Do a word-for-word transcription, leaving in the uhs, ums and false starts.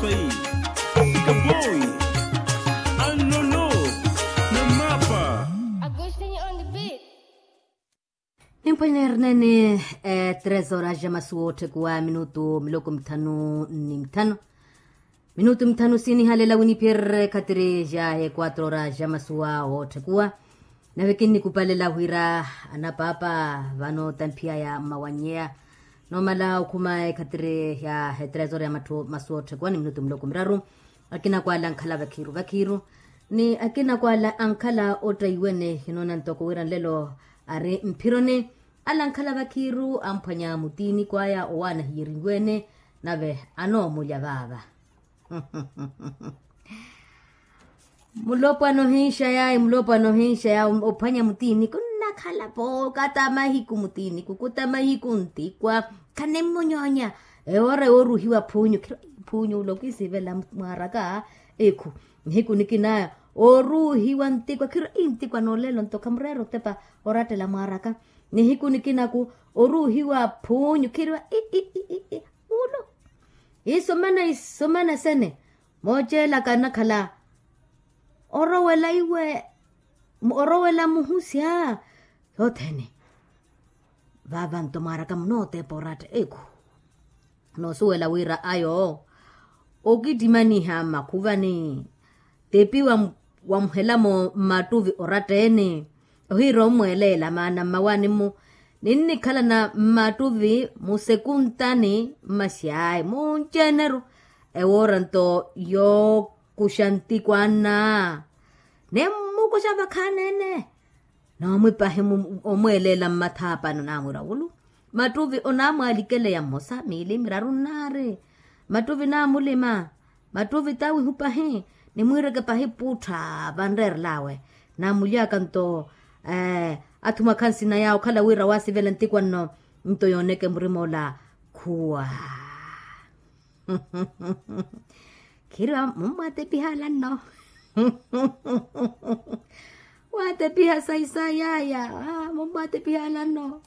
Swai, Sikapoi, Alolo, Namapa. Agostinho on the beat. Nimphwanyerya ernene. Tres horas ja masuwa otthekuwa minutu miloko mithanu ni mithanu. Minutu mithanu sinihalela winiphiyererye khatiri ja equatro horas ja masuwa otthekuwa. Nave kinnikupalela wira anapaapa vano tamphiyaya mmawanyeya. Noomala okhuma ekhatiri ya etresor ya matthu masuwa otthekuwa ni minutu miloko miraru. Akina kwala ankhala vakhiiru vakhiiru, ni akina kwala ankhala ottaiwene hinoona ntoko wira nlelo ari mphironi. Ala ankhala vakhiiru amphwanya mutiini kwaya owaana hiyerinwene. Nave anoomulya vaava. Mulopwana ohinxa yayi mulopwana ohinxa yayi ophwanya mutiini kunnakhala-po kata mahiku mutiini kukuta mahiku ntikwa. Khanimmunyoonya. Ewoora yooruhiwa phuunyu khiro phuunyu ula okisivela mwaaraka. Ekhu nihiku nikina oruhiwa ntikwa khiro intikwa noolelo nto khamureera otepa orattela mwaaraka. Nihiku nikinaku oruhiwa phuunyu khiriwa i i i i i ulo. Isomana isomana sene mooceelaka anakhala orowela iwe orowela muhusya. Yothene vaava nto mwaaraka munootepa oratta ekhu. Noosuwela wira ayo okittimaniha mmakhuvani. Tepi wamuhelamo mmattuvi oratta-ene ohiira ommweeleela maana mmawaani-mu. Ninnikhalana mmattuvi musekuntani mmasyaayi munceneru. Ewoora nto yookuxa ntikwanna nimmukuxa vakhaani-ene. Noomwipahi omweeleela mmathaapani onaamwira wulu. Mattuvi onaamwalikeleya mmosa miili miraru nnaari. Mattuvi naamulima. Mattuvi taawihu pahi. Nimwiireke pahi puuttha vanreerel'awe. Naamuly'aka nto athumwakha nsina yaawe okhala wira waasivela ntikwanno. Nto yooneke murim'ola khuwa. Khiriwa mummwatepiha alanno. Waatepiha sayi sayi yaaya. Mummwatepiha alanno.